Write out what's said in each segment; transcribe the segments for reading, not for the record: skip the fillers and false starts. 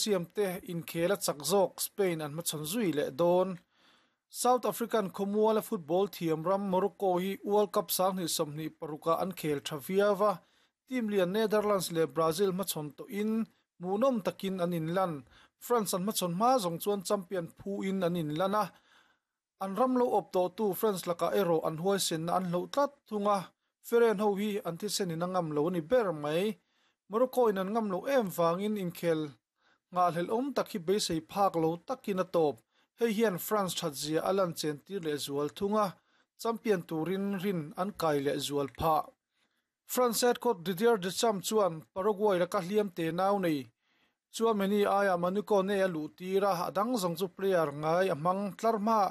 Siamte inkhel a chak zawk Spain an hmachhawn zui leh dawn. South African khawmuala football thiam ram Morocco hi World Cup 2026 ah an khel tha viau a, team lian Netherlands leh Brazil hmachhawn tawhin hmuhnawm takin an inlan. France an hmachhawn hma zawng chuan champion phuin an inlan a, an ram lo awp tawhtu France lakah erawh an huaisenna an hloh tlat thung a, Feren ho hi an thisenin a ngam lo a ni ber mai. Morocco in an ngam loh em vangin inkhel nghahhlelh awm tak hi beisei phak lo takin a tawp. Hei hian France thatzia a lan chen tir leh zual thung a, champion turin rin an kai leh zual phah. France head coach Didier Deschamps chuan Paraguay laka hliam te nau nei Tchouameni aiah Manu Kone a luh tir a, a dang zawng chu player ngai a hmang tlar hma.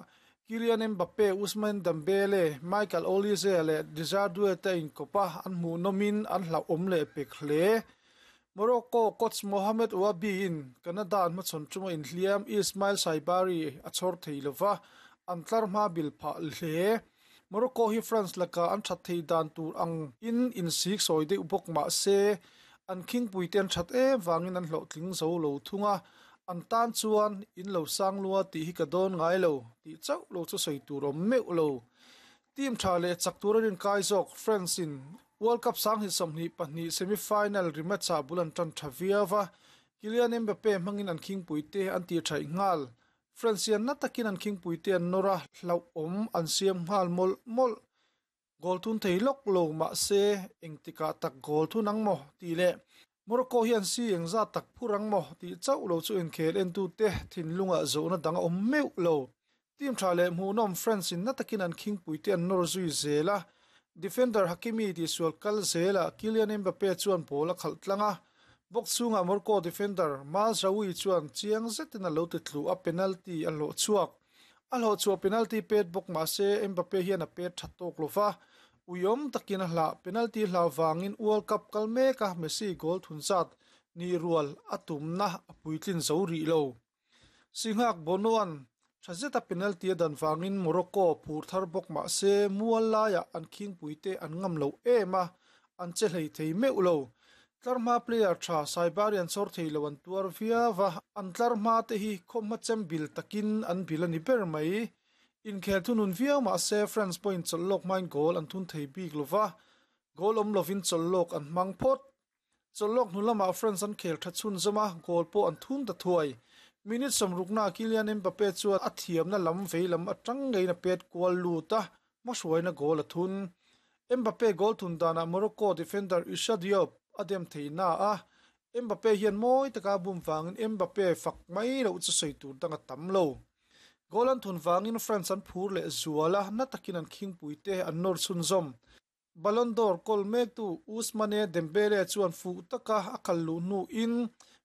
Kylian Mbappe, Ousmane Dembele, Michael Olise leh Desire Doue te a inkawp a, an hmuhnawmin an hlauhawm leh pek hle. Morocco coach Mohamed Ouahbi in Canada an hmachhawn chunga inhliam Ismail Saibari a chhawr thei lova, an tlar hma bil phah hle. Morocco hi France lakah an that thei dan tur ang in insik sawi deuh bawk mah se, an khingpui te an that em vangin an hlawhtling zo lo thung a, an tan chuan in lo sang lua tih hi ka dawn ngai lo tih chauh lo chu sawi tur awm meuh lo. Team tha leh chak tur a rinkai zawk France in World Cup 2022 semi-final rematch ah bul an tan tha viau a, Kylian Mbappe hmangin an khingpui te an tih thaih nghal. France hian na takin an khingpuite an nawr a, hlauhawm an siam nghal mawlh mawlh. Goal thun thei lawk lo mahse engtikah tak goal thun ang maw tih leh Morocco hian si engzat tak phur ang maw tih chauh lo chu inkhel entute thinlungah zawhna dang a awm meuh lo. Team tha leh hmuhnawm France in na takin an khingpuite an nawr zui zel a, defender Hakimi tihsual kal zelah Kylian Mbappe chuan ball a khalh tlang a, Box chhungah Morocco defender Mazraoui chuan chiang zetin a lo ti tlu a, penalty a hlawh chhuak. A hlawh chhuah penalty pet bawk mah se Mbappe hian a pet tha tawk lo va, uiawm takin a hlah. Penalty hlau vangin World Cup kal meka Messi goal thun zat nih rual a tumna a puitlin zo rih lo. Singhak Bono-a'n tha zeta penalty a dan vangin Morocco phur thar bawk mah se mual laiah an khingpuite an ngam lo em a, an che hlei thei meuh lo. Tlar hma player tha Saibari an chhawr thei lo an tuar viau a, an tlar hma te hi khawmhma chem bil takin an bil a ni ber mai. Inkhel thunun viau mah se France pawhin chawlh lawk hmain goal an thun thei bik lo va, goal awm lovin chawlh lawk an hmang phawt. Chawlhlawk hnu lamah France an khel tha chhunzawm a, goal pawh an thun ta thuai. Minute sawmruknaah Kylian Mbappe chuan a thiamna lam vei lam atang ngeiin a pet kual lut a, hmahruaina goal a thun. Mbappe goal thun danah Morocco defender Issa Diop a dem thei na a, Mbappe hian mawi taka a bum vangin Mbappe fak mai loh chu sawi tur dang a tam lo. Goal an thun vangin France an phur leh zual a, na takin an khingpuite an nawr chhunzawm. Ballon d'Or kawl mektu Ousmane Dembele chuan fuh taka a kal luh hnuin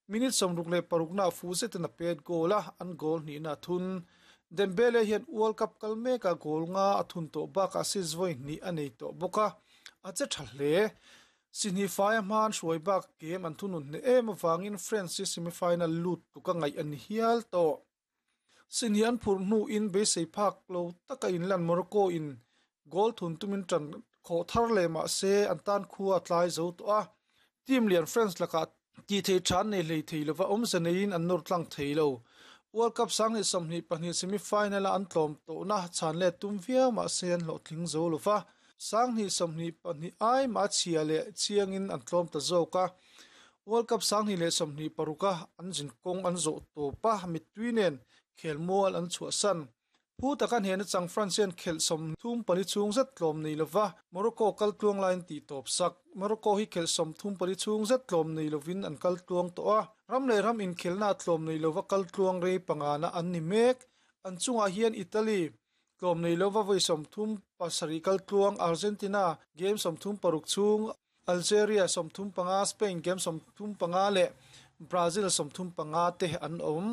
minute 66 nah fuh zetin a pet goal a, an goal hnihna a thun. Dembele hian World Cup kal mekah goal nga a thun tawh bakah assist vawi hnih a nei tawh bawk a, a che tha hle. Sihnih faia hma an hruai bak game an thunun hneh em avangin France hi semi-final lut tluk a ngaih a ni hial tawh. Sihnih an phurh hnuin beisei phak lo taka inlan Morocco in goal thun tumin tan khawh thar leh mah se an tan khua a tlai zo tawh a. Team lian France lakah tih theih tha an nei hlei thei lova awmze neiin an nawr tlang thei lo. World Cup 2022 semi-final a an tlawm tawhna chhan let tum viau mah se an hlawhtling zo lova. 2022 ai mah a chhia leh chiangin an tlawm ta zawk a. World Cup 2026 a an zin kawng an zawh tawp a, mittui nen khelmual an chhuahsan. Phu taka hnehna chang France hian khelh 34 chhung zet tlawm nei lova Morocco kal tluang laiin tih tawp sak. Morocco hi khelh 34 chhung zet tlawm nei lovin an kal tluang tawh a, ram leh ram inkhelhna tlawm nei lova kal tluang rei pangana an ni mek. An chungah hian Italy tlawm nei lova vawi 37 kal tluang, Argentina game 36 chhung, Algeria 35, Spain game 35 leh Brazil 35 te an awm.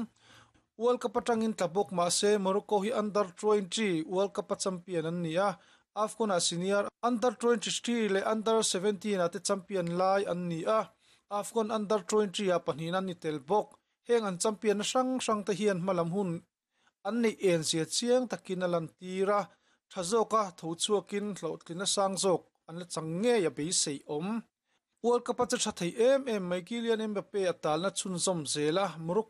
World Cup atangin tla bawk mah se Morocco hi Under 20 World Cup a champion an ni a, AFCON ah senior Under 23 leh Under 17 ah te champion lai an ni a, AFCON Under 20 ah pahnihna an ni tel bawk. Heng an champion na hrang hrang te hian hmalam hun an neih en zia chiang takin a lantir a, tha zawka tho chhuakin hlawhtlina sang zawk an la chang ngei a beisei awm. World Cup a che tha thei em em mai Kylian Mbappe a talna chhunzawm zel a, Morocco.